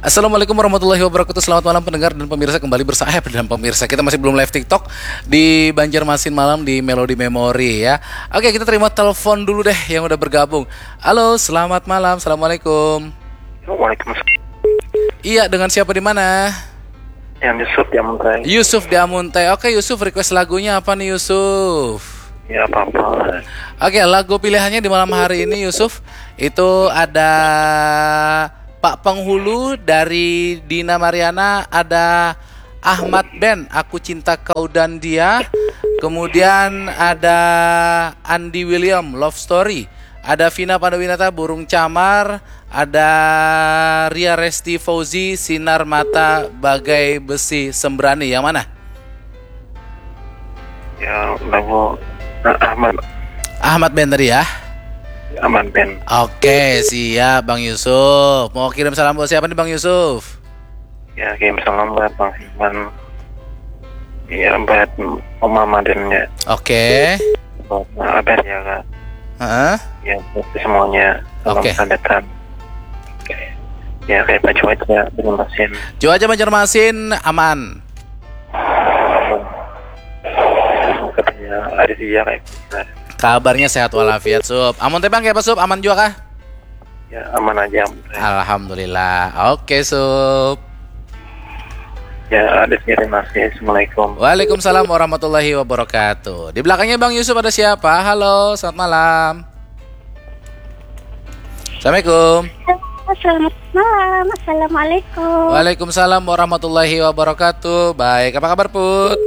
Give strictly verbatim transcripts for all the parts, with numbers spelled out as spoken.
Assalamualaikum warahmatullahi wabarakatuh. Selamat malam pendengar dan pemirsa, kembali bersama eh, dan pemirsa, kita masih belum live TikTok di Banjarmasin Malam di Melody Memory ya. Oke, kita terima telepon dulu deh yang udah bergabung. Halo, selamat malam. Assalamualaikum. Waalaikumsalam. Iya, dengan siapa di mana? Yang Yusuf di Amuntai. Yusuf di Amuntai. Oke Yusuf, request lagunya apa nih Yusuf? Ya apa-apa. Oke, lagu pilihannya di malam hari ini Yusuf itu ada Pak Penghulu dari Dina Mariana, ada Ahmad Ben, Aku Cinta Kau dan Dia, kemudian ada Andi William, Love Story, ada Vina Panduwinata, Burung Camar, ada Ria Resti Fauzi, Sinar Mata Bagai Besi Sembrani. Yang mana? Ya lagu nah, Ahmad Ahmad Ben tadi ya. Ahmad Ben. Oke, siap Bang Yusuf. Mau kirim salam buat siapa nih Bang Yusuf? Ya kirim salam buat Bang Firman. Ya buat Oma Madennya. Oke. Buat Abah ya kak. Heeh. Ya buat semuanya. Salam Oke. Sandetan. Ya kayak Pak Cuaca di Banjarmasin. Cuaca Banjarmasin aman. Katanya ada dia kayak gitu. Kabarnya sehat walafiat Sup. Amun tebang kayak apa Sup? Aman juga kah? Ya aman aja. Alhamdulillah. Oke Sup. Ya ada terima kasih. Assalamualaikum. Waalaikumsalam warahmatullahi wabarakatuh. Di belakangnya Bang Yusuf ada siapa? Halo, selamat malam. Assalamualaikum. Selamat malam. Assalamualaikum. Waalaikumsalam warahmatullahi wabarakatuh. Baik, apa kabar Put?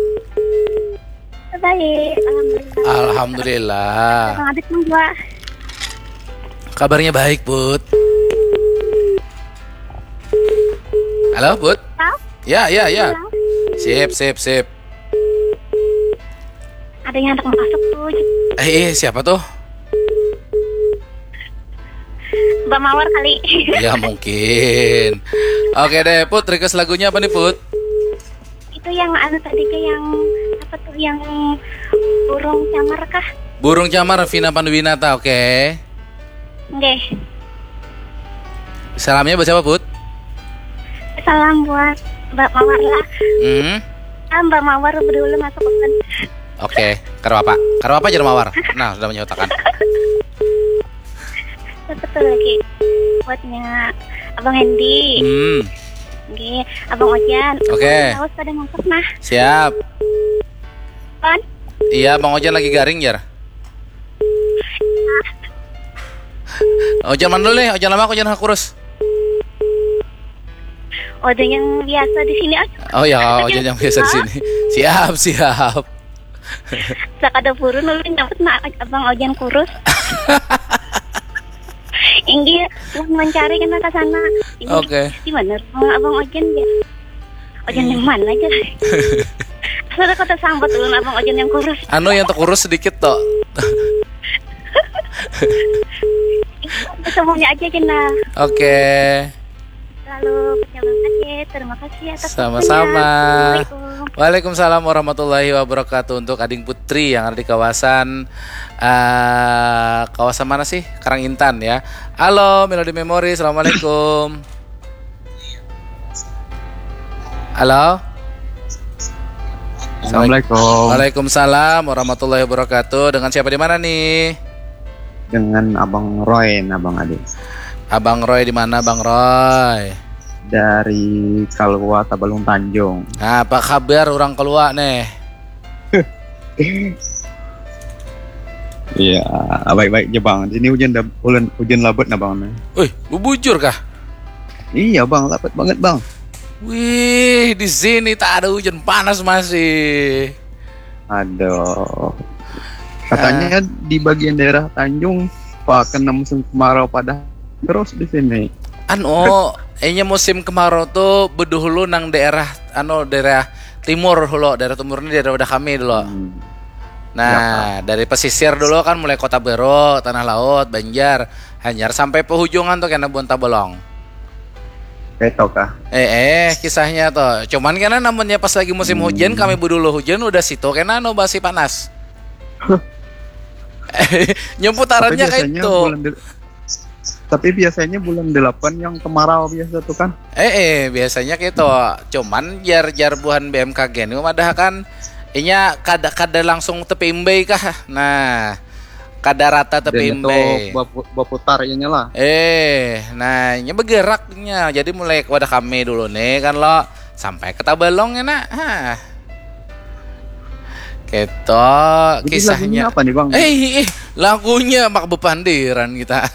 Baik, alhamdulillah. Alhamdulillah. Bang Adit nang dua. Kabarnya baik Put. Halo Put. Halo? Ya ya ya. Halo? Sip sip sip. Ada yang hendak masuk tuh. Eh, eh siapa tuh? Mbak Mawar kali. Ya mungkin. Oke deh Put, request lagunya apa nih Put? Itu yang anu tadi ke yang apa tuh yang burung camar kah? Burung Camar Vina Panduwinata, oke. Nggih. Salamnya buat siapa Put? Salam buat Mbak Mawar lah. Hmm. Ah, Mbak Mawar dulu masuk kan. Oke, karo apa? Karo apa jar Mawar? Nah, sudah menyatakan. Siapa tuh lagi? Buatnya Abang Hendy. Hmm. Nggih, Abang Ojan. Oke. Awas pada masuk nah. Siap. Kan? Iya, Bang Ojan lagi garing jar. Ojan mana dulu nih? Ojan lama, Ojan kurus. Ojan yang biasa di sini aja. Oh ya, Ojan yang biasa di sini. Siap, siap. Sakada purun ulun nyambut nah Abang Ojan kurus. Inggih, ulun mencari kena ke sana. Ini Oke. Di mana rumah Abang Ojan ya? Ojan yang mana aja? Sudah kata sambat ulun Abang Ojan yang kurus. Anu yang terkurus sedikit toh. Semuanya aja kena. Oke. Lalu jangan kasih. Terima kasih atas Sama-sama. waktunya. Assalamualaikum. Waalaikumsalam warahmatullahi wabarakatuh. Untuk Ading Putri yang ada di kawasan eh kawasan mana sih? Karang Intan ya. Halo Melody Memory, assalamualaikum. Halo. Assalamualaikum. Waalaikumsalam warahmatullahi wabarakatuh. Dengan siapa di mana nih? Dengan Abang Roy, nah Bang Adi. Abang Roy di mana Bang Roy? Dari Kalua Tabalung Tanjung. Nah, apa kabar orang Kalua nih? Iya, baik-baik aja Bang. Di sini hujan dab- hujan, hujan labat nah Bang. Nih. Wih, bubujur kah? Iya Bang, labat banget Bang. Wih, di sini tak ada hujan, panas masih. Aduh. Katanya di bagian daerah Tanjung pakai musim kemarau pada terus di sini. Anu, inya musim kemarau tuh bedahulu nang daerah anu daerah timur dulu, daerah timur ini daerah wadah kami dulu. Hmm. Nah, dari pesisir dulu kan mulai Kota Baru, Tanah Laut, Banjar, Hanyar sampai pehujunan tuh kena Bonta Bolong. Kayak tau kah? Eh, eh, kisahnya tuh. Cuman kena namunnya pas lagi musim hujan, kami bedulu hujan udah situ kena anu basi panas. Nyumput Tapi arannya kayak biasanya itu. bulan de- Tapi biasanya bulan delapan yang kemarau biasa tuh kan. Eh, eh biasanya gitu. Cuman jar-jar buhan B M K G ini madahakan inya kada kada langsung tepimbei kah. Nah, kada rata tepimbei. Baputar inya lah. Eh, nah, inya bergeraknya. Jadi mulai wadah kami dulu nih kan lo sampai ke Tabalong ya nak. Hah. Gitu kisahnya. Apa nih bang? Eh, eh lagunya mak bepandiran kita.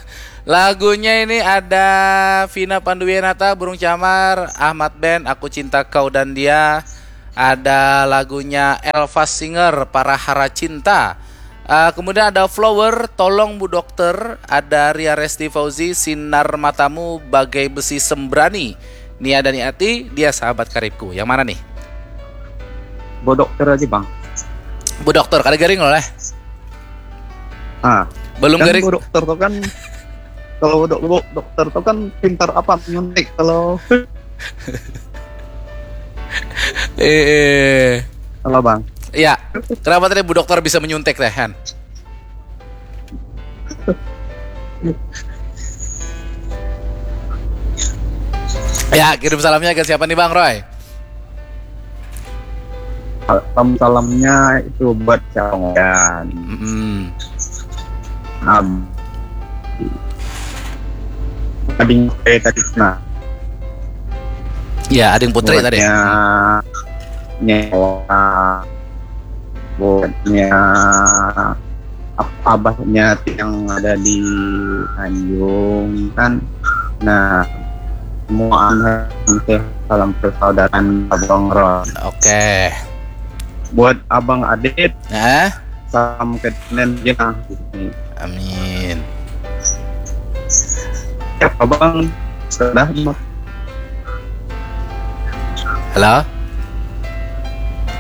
Lagunya ini ada Vina Panduwinata, Burung Camar, Ahmad Band, Aku Cinta Kau dan Dia. Ada lagunya Elva Singer, Para Hara Cinta. Uh, kemudian ada Flower, Tolong Bu Dokter. Ada Ria Resti Fauzi, Sinar Matamu Bagai Besi Sembrani. Nia dan Ati, Dia Sahabat Karibku. Yang mana nih? Bu Dokter aja bang. Bu Dokter, kada garing loh leh. Ah, belum kan garing. Bu Dokter tuh kan kalau dok dokter tuh kan pintar apa nyuntik kalau eh, eh. Halo bang. Ya, kenapa tadi Bu Dokter bisa menyuntik teh Han? Ya, kirim salamnya ke siapa nih Bang Roy? Salam salamnya itu buat Cawongan. Mm-mm. Um, ading saya tadi nah. Ya, ading putri tadi. Nyawa buatnya abahnya yang ada di Tanjung kan. Nah, semua anak salam persaudaraan Abang Ron. Oke. Buat Abang Adit. Nah. Salam ke Nen Jenah. Amin. Ya, Abang sudah. Halo.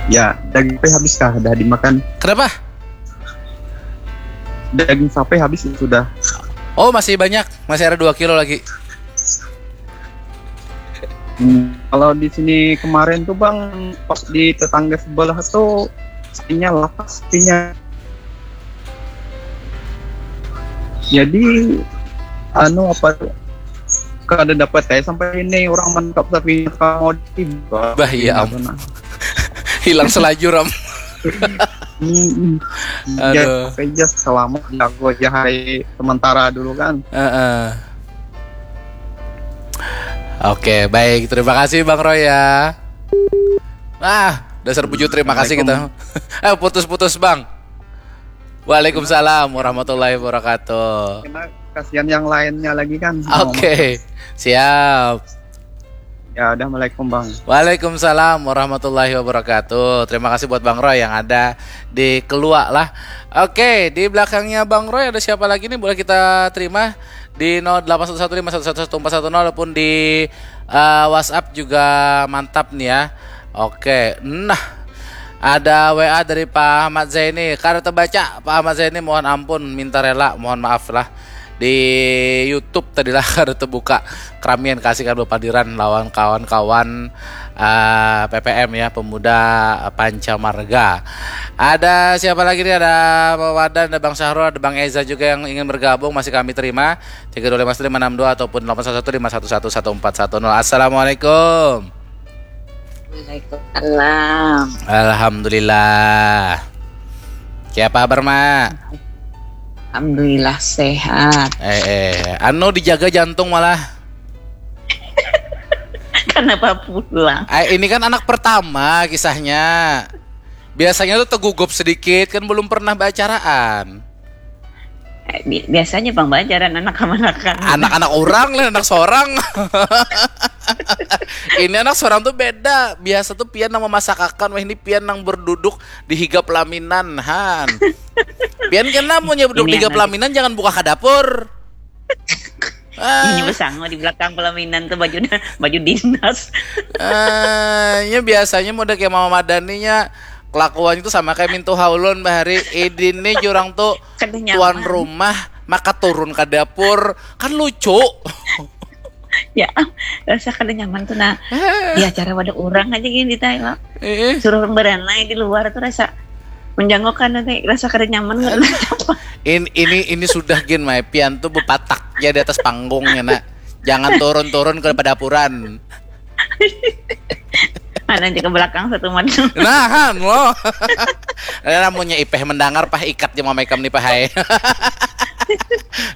Ya, daging sapi habis kah? Dah dimakan? Kenapa? Daging sapi habis sudah. Oh, masih banyak, masih ada dua kilo lagi. Hmm, kalau di sini kemarin tuh bang, pas di tetangga sebelah tuh sapinya lapas sapinya. Jadi anu apa tuh? Kada dapat saya sampai ini orang menangkap sapinya kamu di bah iya am. Hilang selajur am. Hmm, ya, selamat jago aja hari sementara dulu kan. Uh-uh. Oke, baik. Terima kasih Bang Roy ya. Ah, dasar bujut terima kasih kita. Eh, putus-putus Bang. Waalaikumsalam warahmatullahi wabarakatuh. Kasihan yang lainnya lagi kan. Oke, siap. Ya, assalamualaikum Bang. Waalaikumsalam warahmatullahi wabarakatuh. Terima kasih buat Bang Roy yang ada di Keluak lah. Oke, di belakangnya Bang Roy ada siapa lagi nih boleh kita terima di nol delapan satu satu lima satu satu satu empat satu nol ataupun di uh, WhatsApp juga mantap nih ya. Oke, nah ada W A dari Pak Ahmad Zaini. Kada terbaca Pak Ahmad Zaini, mohon ampun, minta rela, mohon maaf lah. Di YouTube tadi lah kada terbuka. Keramian kasih kan berpadiran lawan kawan-kawan uh, P P M ya, pemuda Panca Marga. Ada siapa lagi nih? Ada Wadan, ada Bang Syahrul, ada Bang Eza juga yang ingin bergabung, masih kami terima. Tiga dua lima satu lima enam dua ataupun delapan satu satu lima satu satu satu empat satu nol. Assalamualaikum. Waalaikumsalam. Alhamdulillah. Siapa kabar, Mak? Alhamdulillah sehat. Eh, eh, anu dijaga jantung malah. Kenapa pulang? Eh, ini kan anak pertama kisahnya. Biasanya tuh tegugup sedikit kan belum pernah baacaraan. Eh, biasanya bang baacaraan anak kamanakan. Anak-anak orang lah, anak seorang. Ini anak seorang tuh beda. Biasa tuh pian nang memasakakan, wah ini pian nang berduduk di higa pelaminan, han. Pian kena mau nyebut di higa pelaminan, jangan buka ke dapur. Ah. Ini besango di belakang pelaminan tuh baju baju dinas. Ah, ya biasanya mau kayak mama madaninya kelakuannya tuh sama kayak mintu haulon bahari idin nih jurang tuh tuan rumah maka turun ke dapur kan lucu. Ya, rasa kada nyaman tuh nah. Ya cara wadah orang aja gini di Thailand. Suruh beranai di luar tuh rasa menjangokkan nanti rasa kada nyaman. Apa? In, ini ini sudah gin mai pian tuh bepatak ya di atas panggung ya nak. Jangan turun-turun ke pedapuran. Mana aja ke belakang satu macam. Nah, han lo. Ada namunnya ipeh mendengar pah ikat je mamai kam ni pah hai.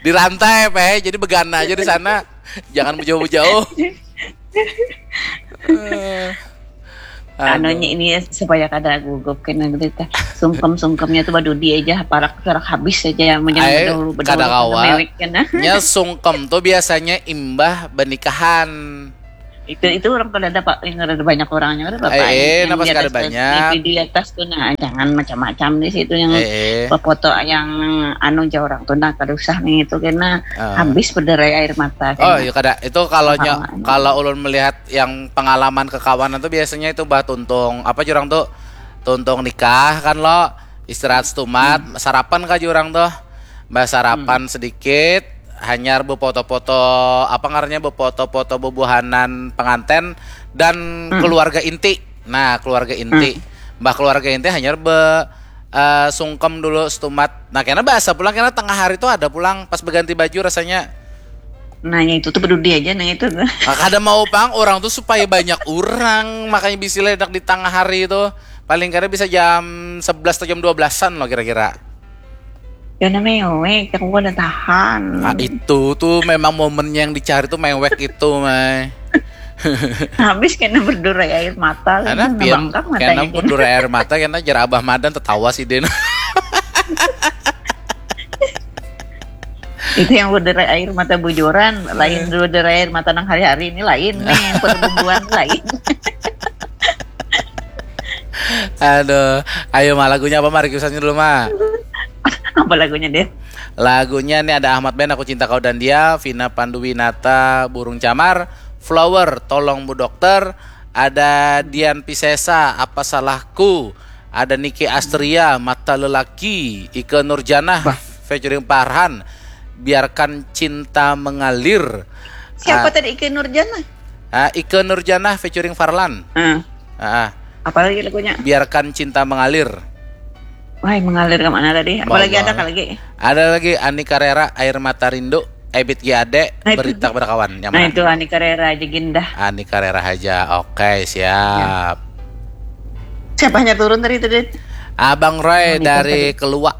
Di rantai pah hai, jadi begana aja di sana. Jangan jauh-jauh. Eh, Anunya ini ya, supaya kada gugup kena gitu teh. Sungkem-sungkemnya tuh badudi aja, parak parak habis aja yang menjadi Ai, bedahulu kada bedahulu kawa. Mewek kena. Nya sungkem tuh biasanya imbah benikahan. Itu itu orang kada ada pak, yang ada banyak orangnya kada apa. Eh, eh, napas kada banyak. Di atas tuh nah, jangan macam-macam di situ yang Eh, eh. foto yang anu aja orang tuh nah kada usah nih itu kena Ah. habis berderai air mata. Oh Kena. Iya kada. Itu kalau nyo, Pengalaman. Kalau ulun melihat yang pengalaman kekawanan tuh biasanya itu bah tuntung apa jurang tuh, tuntung nikah kan lo, istirahat setumat, sarapan kah jurang tuh, bah sarapan sedikit, hanyar befoto-foto apa ngarannya, befoto-foto bebuahanan penganten dan keluarga inti. Nah, keluarga inti, bah keluarga inti hanyar be eh, sungkem dulu setumat. Nah, kena bahasa pulang, kena tengah hari tuh ada pulang pas berganti baju rasanya. Nanya itu tuh peduli aja nanya itu tuh. Nah, kada mau pang orang tuh supaya banyak orang, makanya bisa ledak di tengah hari itu. Paling kada bisa jam sebelas atau jam dua belasan lo kira-kira. Ya namanya mewek, aku kada tahan. Nah, itu tuh memang momennya yang dicari tuh mewek itu, mai. Habis kena berderai air mata. Karena Kena pian bangkak kena matanya. berderai air mata karena jar abah madan tetawa sih den. Itu yang berderai air mata bujuran, lain berderai air mata nang hari-hari ini lain nih, yang perbubuhan lain. Aduh, ayo mah lagunya apa mah requestannya dulu mah. Apa lagunya deh? Lagunya nih ada Ahmad Ben, Aku Cinta Kau dan Dia, Vina Panduwinata, Burung Camar, Flower, Tolong Bu Dokter, ada Dian Pisesa, Apa Salahku, ada Niki Astria, Mata Lelaki, Ike Nurjanah, featuring Farhan, Biarkan Cinta Mengalir. Siapa Ah, tadi Ike Nurjana? ah, Ike Nurjanah featuring Farlan. Ah, Ah, ah. Apa lagi lagunya? Biarkan Cinta Mengalir. Wah, mengalir kemana tadi? Apa lagi ada Bawang. Lagi? Ada lagi Ani Carrera, Air Mata Rindu, Ebit G Ade, Nah, itu. Berita Kepada Kawan. Yang Nah mana? Itu Ani Carrera aja gindah. Ani Carrera aja. Oke, siap. Siapanya turun tadi itu, Dit? Abang Roy Ani dari tadi. Keluak.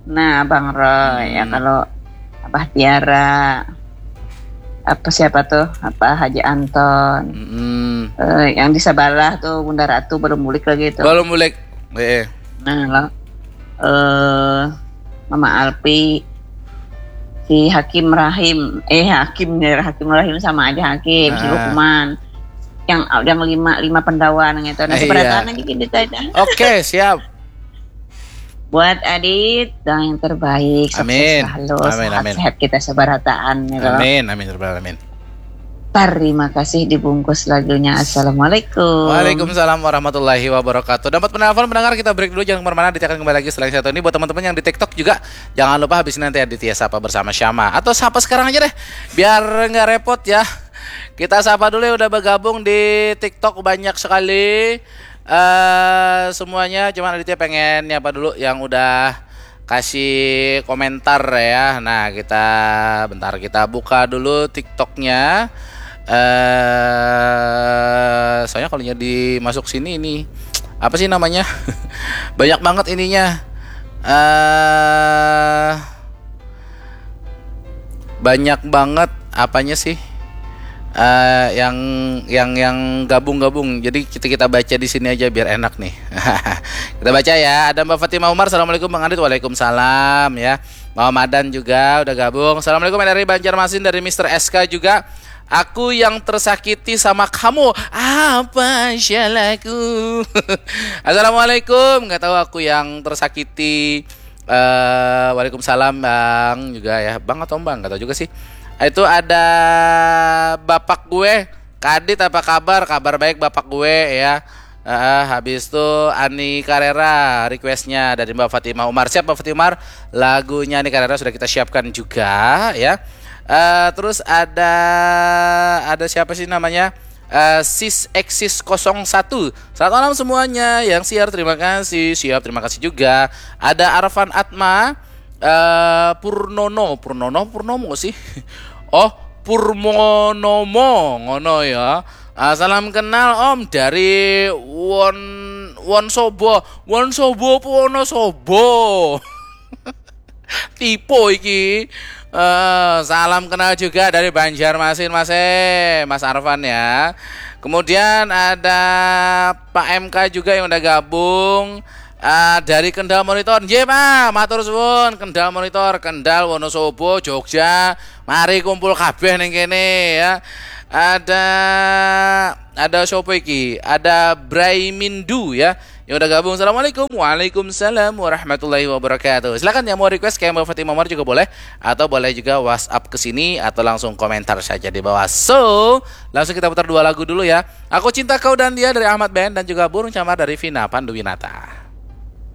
Nah, Bang Roy, ya Hmm. kalau Abah Tiara, apa siapa tuh? Apa Haji Anton? Mm-mm. Eh, yang di sebelah tuh Bunda Ratu belum bulik lagi tuh. Belum bulik. Eh, Nah, lo, eh Mama Alpi, si Hakim Rahim, eh Hakim ya, Hakim Rahim sama aja Hakim, si Ah. Lukman, yang yang lima lima pendawa nang itu. Nah, Iya. Seberataan aja gini aja. Oke, siap. Buat Adit, doa yang terbaik, sukses Amin. selalu, Amin, amin. Sehat-sehat kita seberataan gitu. Amin, amin, ya rabbal alamin. Terima kasih dibungkus lagunya. Assalamualaikum. Waalaikumsalam warahmatullahi wabarakatuh. Dapat penelpon pendengar, kita break dulu, jangan kemana-mana, Aditya akan kembali lagi setelah yang satu ini. Buat teman-teman yang di TikTok juga, jangan lupa habis ini nanti Aditya sapa bersama Syama. Atau sapa sekarang aja deh, biar nggak repot ya. Kita sapa dulu yang udah bergabung di TikTok, banyak sekali eh semuanya. Cuman Aditya pengen nyapa dulu yang udah kasih komentar ya. Nah, kita bentar, kita buka dulu TikToknya. Eh, soalnya kalau jadi masuk sini ini apa sih namanya? Banyak banget ininya. Eh, banyak banget apanya sih? Eh, yang yang yang gabung-gabung. Jadi kita kita baca di sini aja biar enak nih. Kita baca ya. Ada Mbak Fatimah Umar, "Assalamualaikum Bang Adit." Waalaikumsalam ya. Mama Madan juga udah gabung. "Assalamualaikum dari Banjarmasin, dari Mister S K juga. Aku yang tersakiti sama kamu. Apa salahku?" Assalamualaikum. Nggak tahu aku yang tersakiti. Eh, waalaikumsalam Bang juga ya. Bang atau Bang? Nggak tahu juga sih. Itu ada bapak gue, Kadit, apa kabar? Kabar baik bapak gue ya. Eh, habis itu Ani Carrera requestnya dari Mbak Fatimah Umar. Siap Mbak Fatimah Umar, lagunya Ani Carrera sudah kita siapkan juga ya. Eh, terus ada ada siapa sih namanya? Eh, Sis Exis kosong satu. "Selamat malam semuanya yang siar, terima kasih." Siap, terima kasih juga. Ada Arfan Atma, eh Purnono, Purnono, Purnomo sih. Oh, Purmonomo ngono ya. Ah, salam kenal Om dari Won Wonsobo, Wonsobo Wonosobo. Tipe iki. Eh, salam kenal juga dari Banjarmasin Mas eh, Mas Arfan ya. Kemudian ada Pak M K juga yang udah gabung. Ah, dari Kendal Monitor. Nggih, Pak, matur suwun. Kendal Monitor, Kendal, Wonosobo, Jogja. Mari kumpul kabeh ning kene ya. Ada ada siapa iki? Ada Braimindu ya. Yang udah gabung. Assalamualaikum. Waalaikumsalam warahmatullahi wabarakatuh. Silakan yang mau request kayak Mbak Fatimah Umar juga boleh, atau boleh juga WhatsApp ke sini atau langsung komentar saja di bawah. So, langsung kita putar dua lagu dulu ya. Aku Cinta Kau dan Dia dari Ahmad Band dan juga Burung Camar dari Vina Panduwinata.